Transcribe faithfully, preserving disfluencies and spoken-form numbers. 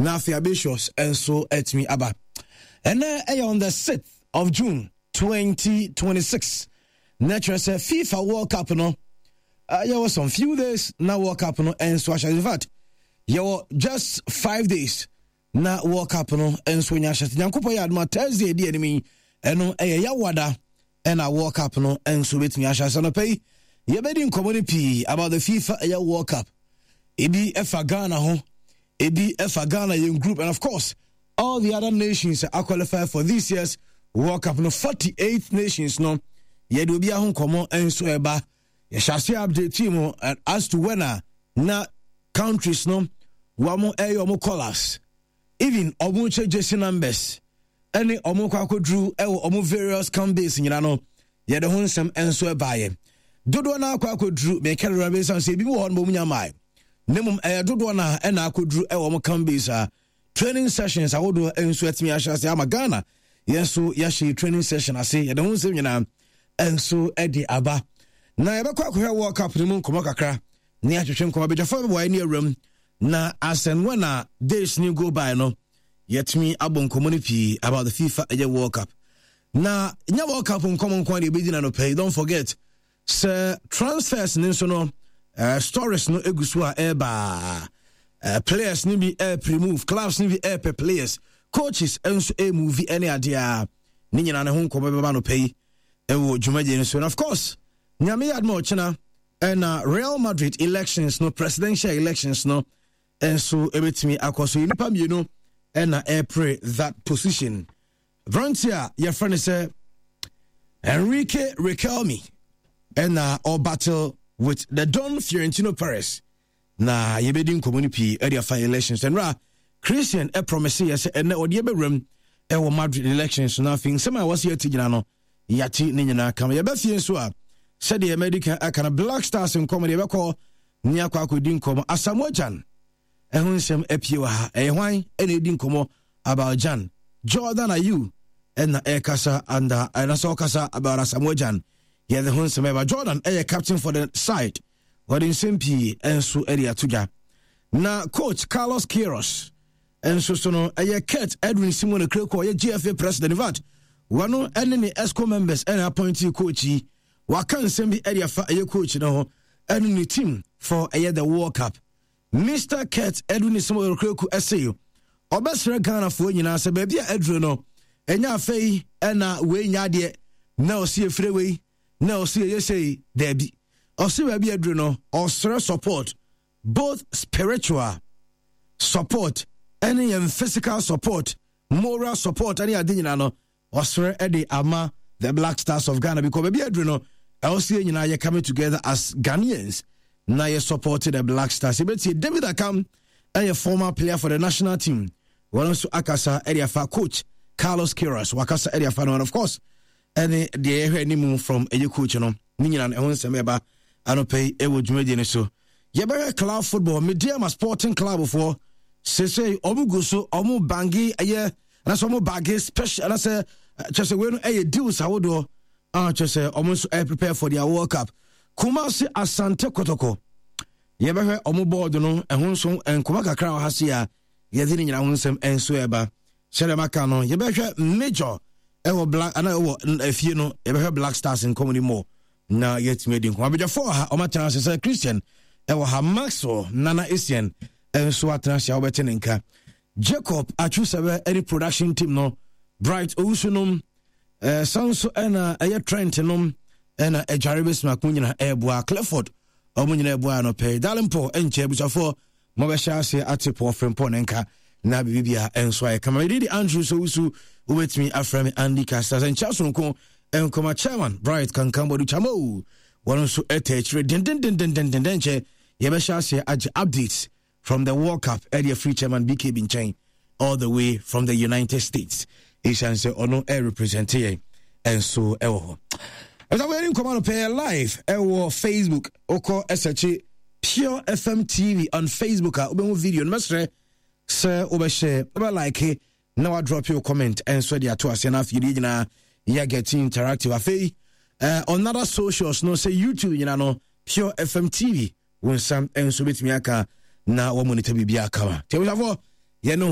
Na afei Abatius nso atumi aba. Ɛnɛ ɛyɛ on the sixth of June twenty twenty-six, na kyerɛ sɛ FIFA World Cup no, uh, yɛwɔ some few days na World Cup no nso ahyɛ. In fact, yɛwɔ just five days na World Cup no nso nya ahyɛ. Nyankopɔn yɛ adoma, Thursday di anim yi, ɛno ɛyɛ Yawada, ɛna World Cup no nso bɛtumi ahyɛ ase. Nɔpɛ yi yɛbɛdi nkɔmmɔ no pii about the FIFA ɛyɛ World Cup, ebi ɛfa Ghana ho, ebi ɛfa Ghana yɛn group, and of course all the other nations are qualified for this year's World Cup no, forty-eight nations no. Yɛde obi aho nkɔmmɔ nso ɛba. Yɛhyɛ ase update mu as to when a na countries no wɔn ɛyɛ wɔn colours, even wɔn kyɛ jersey numbers, ɛne wɔn kɔ akɔduru ɛwɔ wɔn various camp base nyina no, yɛde ho nsɛm nso ɛbaeɛ. Dodoɔ no akɔ akɔduru mɛka dodoɔ no bɛsan sɛ ebi wɔ hɔ no bɔ mu nya maa, ne mmom ɛyɛ dodoɔ no a ɛna akɔduru ɛwɔ wɔn camp base a training sessions ahodoɔ nso atumi ahyɛ ase ama Ghana. Yɛn nso yɛahyɛ training session ase. Yɛde ho nsɛm nyinaa nso de aba na yɛbɛkɔ akɔhwɛ World Cup no mu nkɔmmɔ kakra ne ahwehwɛ nkɔmmɔ. Abadwafoɔ bɛboa ne awuram na as and when a days ni go by no, yɛtumi abɔ nkɔmmɔ no pii about the FIFA ɛyɛ World Cup. Na nyɛ World Cup nkɔmmɔ nko a deɛ ɛbɛdi na no pɛi. Don't forget sɛ transfers ne nso no, uh, stories no egu so a ɛreba. uh, players no bi ɛrepre move, clubs no bi ɛrepɛ players, coaches nso ɛremove, ɛne adeɛ a ne nyinaa ne ho nkɔmmɔ bɛba no pɛ yi ɛwɔ dwumadie no so. And of course, Nyame yɛ adoma, ɔkyena ɛna Real Madrid elections no, presidential elections no nso ɛbɛtumi akɔ so. Nnipa mmienu ɛna ɛrepre that position. Aberante a yɛfrɛ no sɛ Enrique Riquelme ɛna ɔbattle with the Don Florentino Perez, na yɛbɛdi nkɔmmɔ no pii ɛde afa elections. Ɛnora Christian ɛpromise yɛ sɛ ɛnɛ ɔde ɛbɛwuram ɛwɔ Madrid elections no. Afei nsɛm a wɔsi ati gyina no, yɛate ne nyinaa kama. Yɛbɛfie nso a, sɛdeɛ mɛdi aka no, Black Stars nkɔmmɔ deɛ yɛbɛkɔ ne akɔ akɔdi nkɔmmɔ. Asamoah Gyan ɛho nsɛm apue wɔ ha. Ɛyɛ hwan ɛna ɛdi nkɔmmɔ about Gyan? Jordan Ayew ɛna ɛkasa anda ɛna sɛ ɔkasa about Asamoah Gyan. Yɛde ho nsɛm ɛba. Jordan ɛyɛ captain for the side, wɔde nsɛm pii nso ɛde ato dwa. Na coach Carlos Queiroz nso so no, ɛyɛ Kurt Edwin Simeon Kreko, ɔyɛ G F A president. In fact, wɔno ɛne ne exco members ɛna appointee coach yi. Waka nsɛm bi ɛde afa ɛyɛ coach no ho ɛne ne team for ɛyɛ the World Cup. Mister Kurt Edwin Simeon Kreko ɛsɛ ɔbɛsrɛ Ghanafoɔ nyinaa sɛ baabi a aduro no, ɛnyɛ afei ɛna wei nya adeɛ na ɔsi efire wei na ɔsi ɛyɛ sei. Daabi, ɔsi baabi aduro no, ɔsrɛ support, both spiritual support ɛne yɛn physical support, moral support ɛne ade nyinaa no, ɔsrɛ ɛde ama the Black Stars of Ghana, because baabi aduro no, ɛwɔ sɛ yɛn nyinaa yɛ coming together as Ghanaians na yɛ support the Black Stars. Yɛbɛtie David Akam, ɛyɛ former player for the national team. Wɔn nso akasa ɛde afa coach Carlos Queiroz, wakasa ɛde afa no, and of course ɛne deɛ yɛhwɛ anim from ɛyɛ coach no ne nyinaa no, ɛho nsɛm ɛba anɔpɛ yi ɛwɔ dwumadie no so. Yɛbɛhwɛ club football. Medeama Sporting Club foɔ sesei ɔmo gu so ɔmo bange ɛyɛ anasɛ ɔmo bage special anasɛ kyerɛ sɛ wei no ɛyɛ deals ahodoɔ a kyerɛ sɛ ɔmo nso ɛyɛ prepare for their World Cup. Kumasi Asante Kotoko, yɛbɛhwɛ ɔmo board no ɛho nso nkɔmɔ kakra wɔ ha se a yɛde ne nyinaa ho nsɛm nso ɛba. Sɛdeɛ maka no, yɛbɛhwɛ major ɛwɔ black ana ɛwɔ efie no, yɛbɛhwɛ Black Stars nkɔmɔ ni mɔ na yɛatumi adi nkɔmɔ. Abadwafoɔ wɔ ha, ɔmo atena ase sɛ Christian ɛwɔ ha, Maxwell Nana Essien nso atena ase a wɔbɛte ne nka, Jacob Atwusɛbɛ ɛne production team no, Bright Owusu nom ɛɛ san so ɛna ɛyɛ Trent nom ɛna Agyare Bɛsima ko nyina ɛɛboa Clifford, ɔmo nyina ɛboa no pɛɛ. Darling Paul ɛnkyɛ abusuafoɔ mobɛhyɛ ase ate Paul Frempɔ ne nka na biribibia ɛnso ayɛ kama. Mede de Andrew sɛ wusu wobɛtumi afrɛ me Andy Kasta sɛ nkyɛ sononko nkɔma. Chairman Bright Kankan Bɔdu Chamo, wɔn nso ɛtɛ akyire dendendendendenden. Kyɛ yɛbɛhyɛ aseɛ agye updates from the World Cup ɛde afiri Chairman B K B nkyɛn all the way from the United States, ɛsiane sɛ ɔno ɛrepresente yɛn ɛnso ɛwɔ hɔ. Ɛsɛ wɔyɛ nkɔmɔ no pɛɛ live ɛwɔ Facebook. Wokɔ ɛsɛkye Pure F M T V on Facebook a, wobɛhu video no. Mɛsrɛ sɛ wobɛhyɛ, wobɛlike na wadrop your comment ɛnso de ato aseɛ no. Afei deɛ nyinaa yɛ getting interactive. Afei uh, on other socials no, sɛ YouTube nyina no, Pure F M T V, wo nsa nso bɛtumi aka na wɔmonitor biribi akama. Nti abusuafoɔ, yɛne